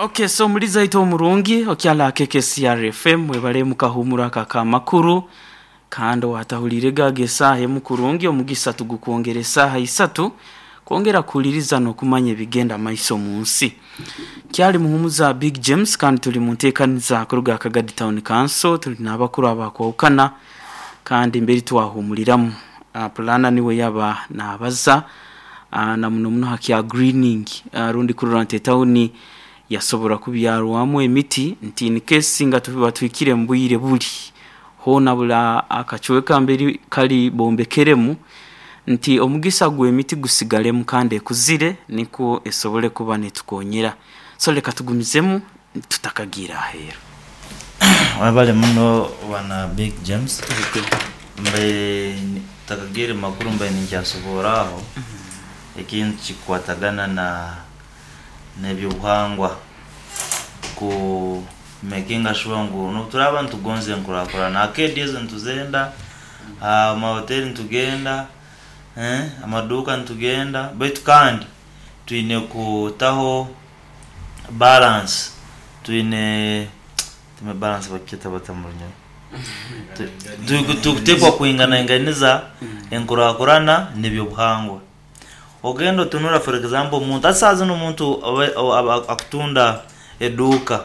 Okay, so omulizi aitu omurungi okyala KKCR FM, webale mukahumura aka kamakuru, kandi owatahuliirege ago esaaha emu kurungi, omugisa tugukwongera esaaha isatu kwongera kuhuliriza n'okumanya ebigenda maiso omu nsi. Kyali Muhumuza Big James, kandi tuli mu nteekaniza kuruga Kagadi Town Council, tuli n'abakuru abakwahukana kandi mberi twahumuliramu. Pulana niwe yaba nabaza na muno muno ha kya greening rundi kurora nti etawuni yasobora kubyarwamu emiti, nti in case nga tuba tuhikire mu bwire buli hoona buli akacweka mberi kali bombekeremu nti omugisa gw'emiti gusigalemu kandi ekuzire nikwo esobole kuba netukonyera. So leka tugumizemu tutakagiire aheeru. Webale muno bwana Big James. Mbaire ntakagiire mumakuru mbaire ninkyasoboora aho ekintu kikukwatagana na n'ebyobuhangwa ku makinga sure ngu n'obu turaaba nitugonza enkurakurana, arcade ezo nituzenda, amahoteri nitugenda, amaduuka nitugenda, baitu kandi twine kutaho balance, twine balance bakyeta bata mu Runyoro? Tukuteekwa kwinganainganiza enkurakurana n'ebyobuhangwa. Ogenda otunura, for example, omuntu hati saaha zinu omuntu akutunda eduuka,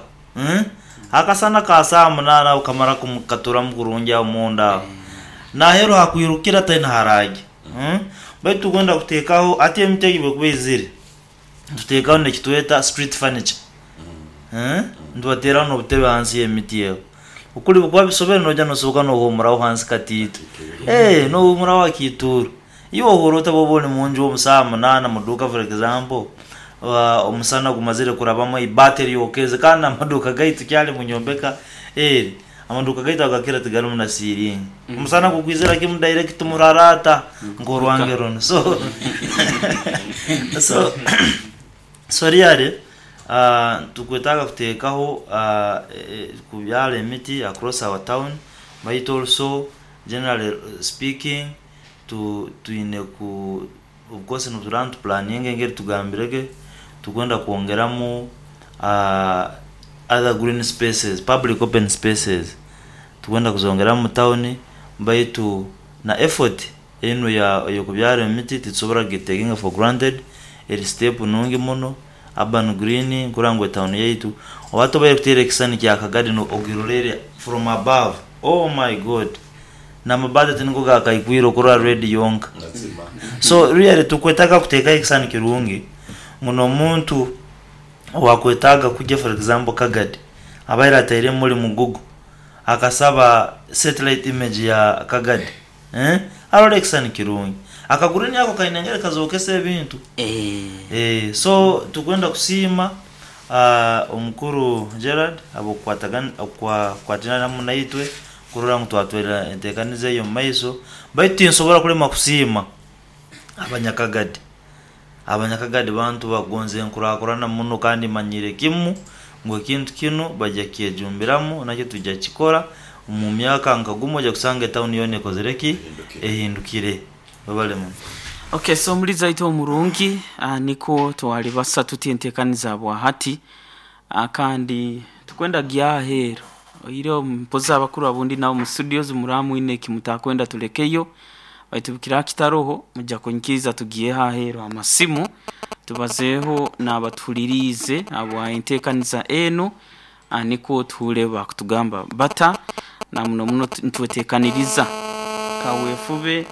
akasana ka saaha munaana aho kamara katuramu kurungi aho munda aho, naheeru hakwirukira taine haraagya. Baitu tukwenda kuteekaho hati emiti egi bwekuba eizire, nituteekaho nekitweta street furniture, nitubateeraho n'obutebe hansi y'emiti ego. Okuli bikuba bisobere noija nosoboka nohumuraho hansi katiito, nohumuraho akiituuro. Iwe ohurra ota bwoba oli munju omu saaha munaana muduuka, for example, omusana gumazire kurabamu, eibaati eryokeze, kandi n'amaduuka gaitu kyali munyombeka eri, amaduuka gaitu agakira tigarimu na siiringi. Omusana gukwizira kimu direct muraraata nk'orwange runu. So really tukwetaaga kuteekaho kubyara emiti across our town, baitu also generally speaking twine ku of course nituba nitupulaninga engeri tugambirege tukwenda kwongeramu other green spaces, public open spaces, tukwenda kuzongeramu mu tawuni, baitu na effort enu ey'okubyara emiti titusobora kugitakinga for granted, eri step nungi muno, urban greening kurora ngu etawuni yaitu oba tobaire kuteera ekisisani kya Kagadi ogiroleere from above, oh my God! N'amabaati tiniko gakaikwire okurora red yonka. So really tukwetaaga kuteekaho ekisisani kirungi ngu n'omuntu owakwetaaga kugya, for example, Kagadi abaire atairemu muli mu Google akasaba satellite image ya Kagadi, arole ekisisani kirungi. Aka green ako kaine engeri kazookesa ebintu. So tukwenda kusiima omukuru Gerald habw'okukwatirana hamu naitwe kurora ngu twatwara enteekaniza eyo omu maiso. Baitu tinsobora kulema kusiima Abanyakagadi. Abanyakagadi bantu bakugonza enkurakurana muno kandi manyire kimu ngu ekintu kinu baija kukyejumbiramu nakyo twija kukikora omu myaka nka gumu oija kusanga etawuni yoona ekozire ki? Ehindukire. Webale muno. Ok, so omulizi aitu omurungi, nikwo twalibasa tuti entekaniza bwa hati, kandi tukwenda gya aheeru oihireho mpozi abakuru abundi nabo mu studios muraba mwine ekimutakwenda tulekeyo, baitu bukiraba kitaroho mujja kunyikiriza tugiyeho aheeru amasimu tubazeeho n'abatuhuliriize habwa entekaniza enu, nikwo tuhuure bakutugamba bata na muno muno nitwetekaniriza kawefube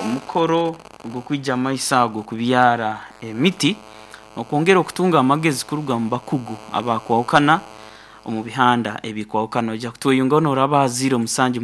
omukoro ogw'okwija maiso ago kubyara emiti n'okwongera okutunga amagezi kuruga omu bakugu abakwahukana omu bihanda ebikwahukana. Oija kutweyungaho n'oraba ha 07.